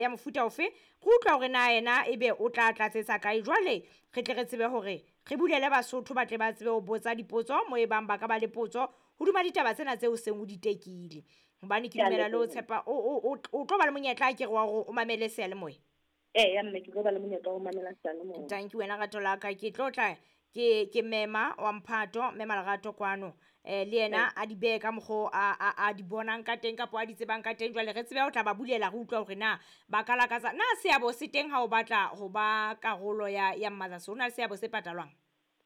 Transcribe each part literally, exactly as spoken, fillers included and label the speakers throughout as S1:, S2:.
S1: ya mofuta ofe. Re utlwa hore na yena ebe o tla tlatsetsa kae. Jwale re tle re tsebe hore re bulele Basotho ba tle ba tsebe ho botsa dipotso mo e bang ba ka ba le potso hodima ditaba tsena tseo seng o di tekile. Hobane ke dumela le ho tshepa o tlo ba le monyetla ke re wa hore o mamele seyalemoya.
S2: Eya mme, ke tlo ba le monyetla wa ho mamela seyalemoya.
S1: Thank you wena rato la ka. Ke tlo tla ke ke mema wa mphato, mema Lerato kwano. Eh le yena a di behe ka mokgo a a a di bonang ka teng kapa a di tsebang ka teng. Jwale re tsebe ho tla ba bulela re utlwa hore na ba ka lakatsa na seabo se teng ha o batla ho ba karolo ya ya Mothers. Ho na le seabo se patalwang?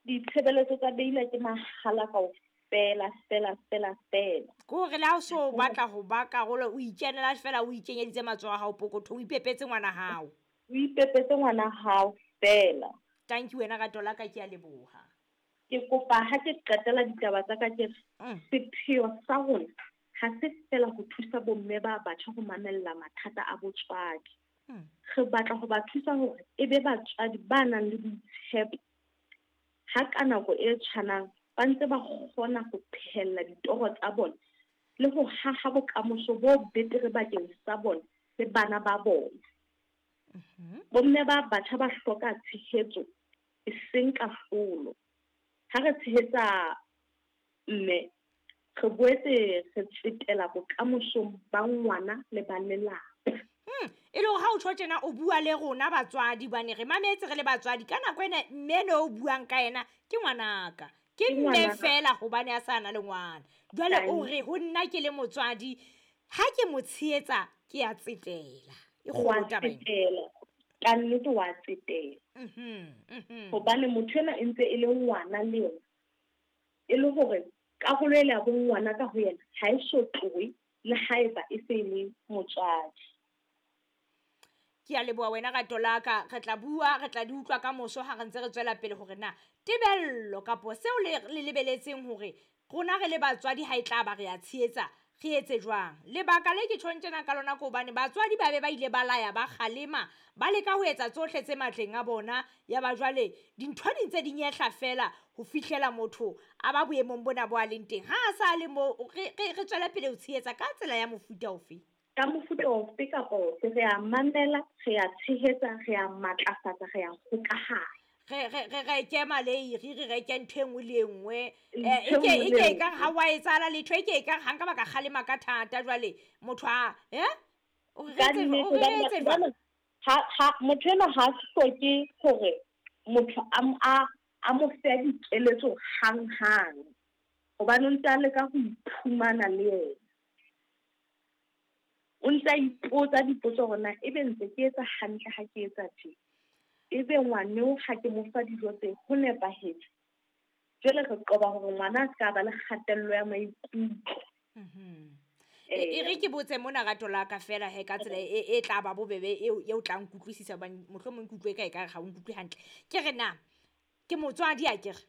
S2: Ditshebeletso tsa Beila ke mahala kaofela fela fela fela.
S1: Ke hore le ha o so batla ho ba karolo, o ikenela fela, o ikenyeditse matsoho a hao pokothong, o ipepetse ngwana hao.
S2: O ipepetse ngwana hao fela.
S1: Thank you wena rato la ka, ke a leboha.
S2: Ke kopa ha ke qetela ditaba tsa ka ke
S1: Mm.
S2: sepheo sa rona ha se fela ho thusa bomme ba batjha ho mamella mathata a botswadi.
S1: Mm.
S2: Re batla ho ba thusa hore e be batswadi ba nang le boitshepo ha ka nako e tshwanang ba ntse ba kgona ho phehella ditoro tsa bona le ho haha bokamoso bo betere bakeng sa bona le bana ba bona.
S1: Mm-hmm.
S2: Bomme ba batjha ba hloka tshehetso e seng kahlolo. Ha re tshehetsa mme, re boetse re tsetela bokamosong ba ngwana le ba lelapa.
S1: Hmm, e le hore ha o tjho tjena o bua le rona batswadi, hobane re mametse re le batswadi. Ka nako ena mme no o buang ka yena ke ngwanaka. Ke
S2: Ke
S1: mme
S2: ngwanaka.
S1: fela hobane a sa na le ngwana. Jwale o
S2: Thank
S1: re ho nna ke le motswadi, ha ke mo tshehetsa ke a tsetela. E
S2: Wa
S1: kgolo taba ena.
S2: tsetela. Ka nnete wa tsetela.
S1: Mhm, mhm.
S2: Hobane motho ena e ntse e le ngwana le yena. E le hore karolo ele ya bongwana ka ho yena ha e so tlohe le haeba e se e le motswadi.
S1: Ke a leboha wena rato la ka. Re tla bua, re tla di utlwa ka moso ha re ntse re tswela pele hore na tebello kapo seo le le lebeletseng hore rona re le batswadi ha e tla ba re a tshehetsa, re etse jwang. Lebaka le ke tjhong tjena ka lona ke hobane batswadi ba be ba ile ba laya, ba kgalema, ba leka ho etsa tsohle tse matleng a bona. Ya ba jwale dintho di ntse di nyehla fela ho fihlela motho a ba boemong bona bo a leng teng. Ha a sa le moo, re, re, re tswele pele ho tshehetsa ka tsela ya mofuta ofe?
S2: Ka mofuta ofe kapa ofe, re a mamela, re a tshehetsa, re a matlafatsa, re a hokahanya.
S1: Re, re, re reke maleiri, re reke ntho e nngwe le e nngwe.
S2: Ntho
S1: Eh,
S2: e nngwe
S1: e ke,
S2: le
S1: e ke
S2: e
S1: ekare
S2: nngwe.
S1: ha wa etsahala letho, e ke ekare ha nka ba ka kgalema ka thata jwale motho a, eh? O re
S2: Ka
S1: etse
S2: nnete,
S1: o re
S2: hobane
S1: etse
S2: batho
S1: jwang?
S2: bana, ha, ha, motho enwa ha hloke hore motho a m-, a, a mo fe dikeletso hanghang. Hobane o ntse a leka ho iphumana le yena. O ntse a ipotsa dipotso hore na ebe ntse ke etsa hantle ha ke etsa tje. Ebe ngwaneo ha ke mo fa dijo tse ho nepahetse. Jwale re qoba hore ngwana a ska ba le kgatello ya maikutlo.
S1: Mhm. E, e re ke botse mona rato la ka fela he ka tsela e, e tla ba bobebe eo, eo tla nkutlwisisa hobane mohlomong ke utlwe e ka ekare ha o nkutlwe hantle. Ke re na ke motswadi a ke re?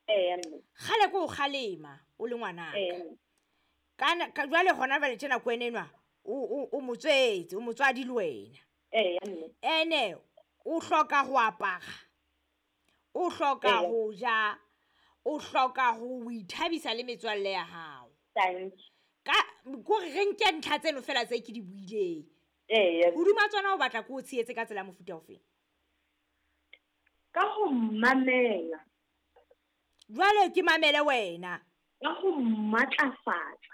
S2: Eya, mme.
S1: Kgale ke o kgalema o le ngwanaka.
S2: Eya, mme.
S1: Kana, ka, jwale hona jwale tjena ko wena enwa, o, o, o motswetse, o motswadi le wena.
S2: Eya, mme.
S1: Ene o hloka ho apara, o hloka
S2: Eya.
S1: ho ja, o hloka ho ithabisa le metswalle ya hao.
S2: Thank you.
S1: Ka, kore re nke ntlha tseno fela tse ke di buileng.
S2: Eya.
S1: Hodima tsona o batla ke o tshehetse ka tsela ya mofuta ofe?
S2: Ka ho mamela.
S1: Jwale ke mamele wena.
S2: Ka ho matlafatsa.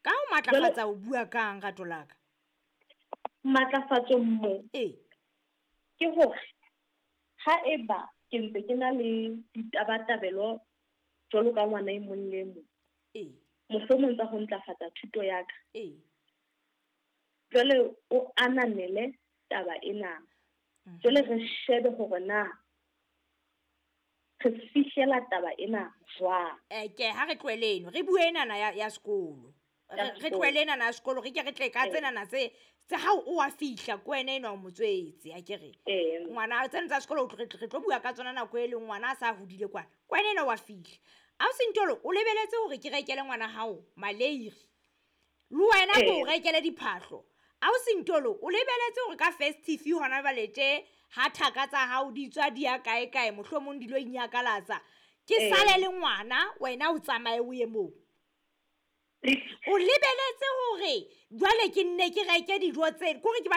S1: Ka ho matlafatsa o bua kang rato la ka?
S2: Matlafatso mo.
S1: Ee.
S2: Ke hore ha eba ke ntse ke na le ditabatabelo jwalo ka ngwana e mong le e mong.
S1: Ee.
S2: Mohlomong tsa ho ntlafatsa thuto ya ka.
S1: Ee.
S2: Jwale o ananele taba ena.
S1: Mhm.
S2: Jwale re shebe hore na re fihlela taba ena jwang.
S1: Eh, ke ha re tlohele eno, re bue enana ya, ya sekolo.
S2: Ya
S1: Re, re
S2: sekolo.
S1: tlohele enana ya sekolo, re ke re tle ka
S2: Ee.
S1: tsenana tse, tse ha o a fihla ko wena enwa o motswetse, a ke re.
S2: Ee.
S1: Ngwana, tsena tsa sekolo re, re tlo bua ka tsona nako e leng ngwana a sa hodile kwana. Ko wena enwa wa fihla. Ausi Ntolo, o lebeletse hore ke rekele ngwana hao maleiri. Le wena ke o
S2: Ee.
S1: rekele diphahlo. Ausi Ntolo, o lebeletse hore ka festive hona jwale tje ha thaka tsa hao di tswa di ya kae kae, mohlomong di lo inyakalatsa. Ke
S2: Ee.
S1: sale le ngwana, wena o tsamaye o ye moo. O lebeletse hore jwale ke nne ke reke dijo tse, kore ke batla